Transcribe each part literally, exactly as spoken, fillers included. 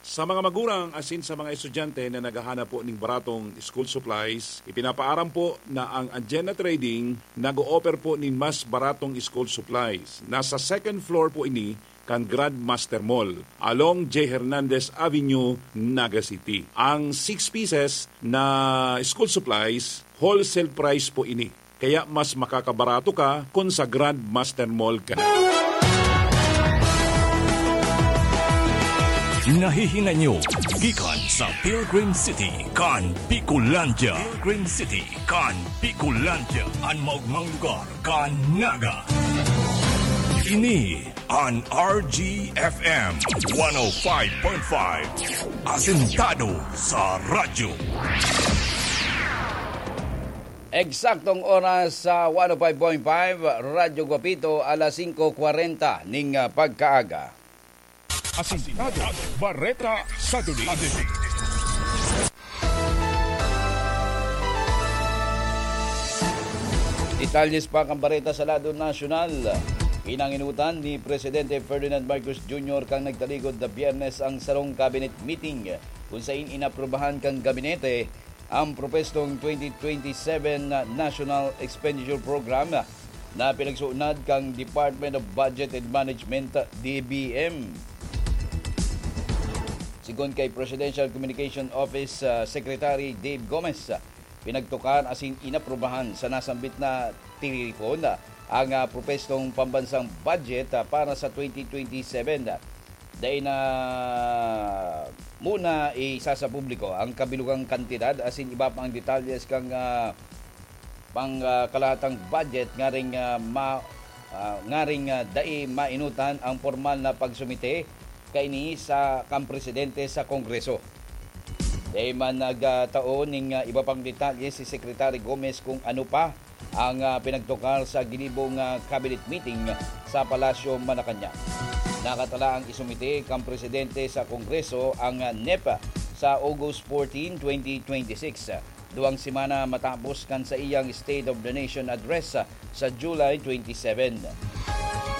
Sa mga magurang asin sa mga estudyante na naghahanap po ning baratong school supplies, ipinapaaram po na ang Anjena Trading nag-o-offer po nin mas baratong school supplies. Nasa second floor po ini kan Grandmaster Mall, along J Hernandez Avenue, Naga City. Ang six pieces na school supplies, wholesale price po ini. Kaya mas makakabarato ka kun sa Grandmaster Mall ka na. Nahihinay nyo gikan sa Pilgrim City kan Bicolandia. Pilgrim City kan Bicolandia, an maogmang lugar kan Naga. Ini an R G F M one oh five point five, asentado sa radyo. Eksaktong oras sa one oh five point five Radyo Guapito, alas singko kwarenta ning, ah, pagkaaga. Asintado, Bareta sa Duli. Detalles pa kan bareta sa lado nasyonal. Pinanginutan ni Presidente Ferdinand Marcos Junior kan nagtaligod na Biyernes ang sarong cabinet meeting, kung sain inaprubahan kan gabinete ang propestong twenty twenty-seven National Expenditure Program na pinagsuunad kan Department of Budget and Management, D B M. Sigon kay Presidential Communication Office, ah, Secretary Dave Gomez, ah, pinagtukar asin inaprubahan sa nasambit na tiripon, ah, ang, ah, propestong pambansang budget, ah, para sa twenty twenty-seven. Dai na muna isa sa publiko ang kabilugang kantidad asin iba pang detalyes kan, ah, pang, ah, kalahatang budget ngaring, ah, ma-, ah, ngaring, ah, dai mainutan ang pormal na pagsumite kaini sa kan presidente sa Kongreso. Dai man nagtao ning, ah, iba pang detalye si Secretary Gomez kung ano pa ang, ah, pinagtukar sa ginibong, ah, cabinet meeting sa Palasyo, Malacañang. Nakatala ang isumite kan presidente sa Kongreso ang, ah, NEP sa August fourteen, twenty twenty-six. Duwang semana matapos kan saiyang State of the Nation Address, ah, sa July twenty-seven.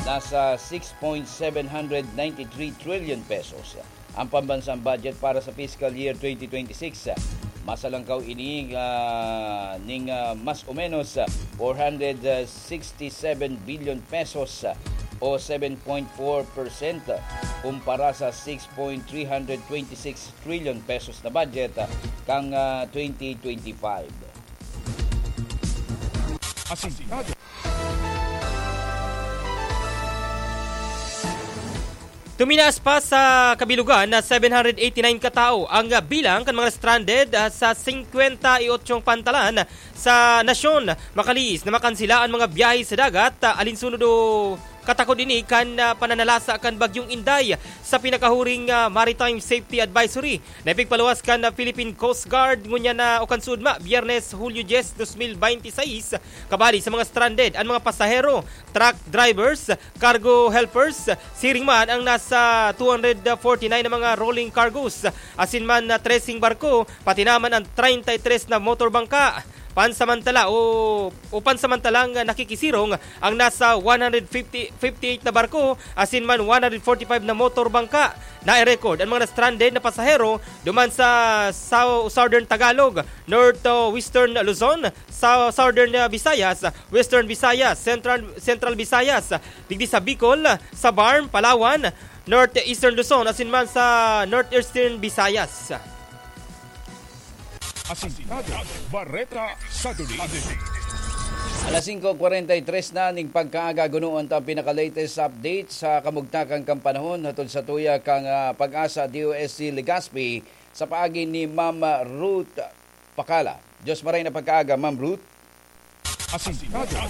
Nasa six point seven hundred ninety-three trillion pesos ang pambansang budget para sa fiscal year twenty twenty-six. Masalangkaw ini, ah, ning, ah, mas o menos, ah, four hundred sixty-seven billion pesos, ah, o seven point four percent, ah, kumpara sa six point three hundred twenty-six trillion pesos na budget, ah, kang, ah, twenty twenty-five. Asintado. Tuminaas pa sa kabilugan na seven hundred eighty-nine katawo ang bilang kan mga stranded, ah, sa singkwenta y otso pantalan sa nasyon. Makalihis na makansela an mga biyahe sa dagat, ah, alinsunod o katakod ini kan, ah, pananalasa kan Bagyong Inday sa pinakahuring, ah, Maritime Safety Advisory na ipigpaluwas kan, ah, Philippine Coast Guard ngunyan na o kan sugma, Biyernes, Hulyo dyes, dos mil binte y seis, kabali sa mga stranded, ang mga pasahero, truck drivers, cargo helpers, siring man ang nasa two hundred forty-nine na mga rolling cargos, asin man na treseng barko, pati naman ang treinta y tres na motor bangka. Pansamantala o, o pansamantalang nakikisirong ang nasa one hundred fifty, fifty-eight na barko, asin man one hundred forty-five na motor bangka. Na-record ang mga na-stranded na pasahero duman sa Sou-, Southern Tagalog, North, uh, Western Luzon, sa Southern, uh, Visayas, Western Visayas, Central, Central Visayas, digdi sa Bicol, sa Barm, Palawan, North Eastern Luzon, asin man sa North Eastern Visayas. Asintado, Bareta sa Duli. Alas singko kwarenta y tres na ning pagkaaga, gunoon ta ang pinaka-latest update sa kamugtakan kan panahon hatod sa tuya kan, ah, PAGASA D O S T Legazpi sa paagi ni Ma'am Ruth Pacala. Diyos maray na pagkaaga, Ma'am Ruth. Asintado,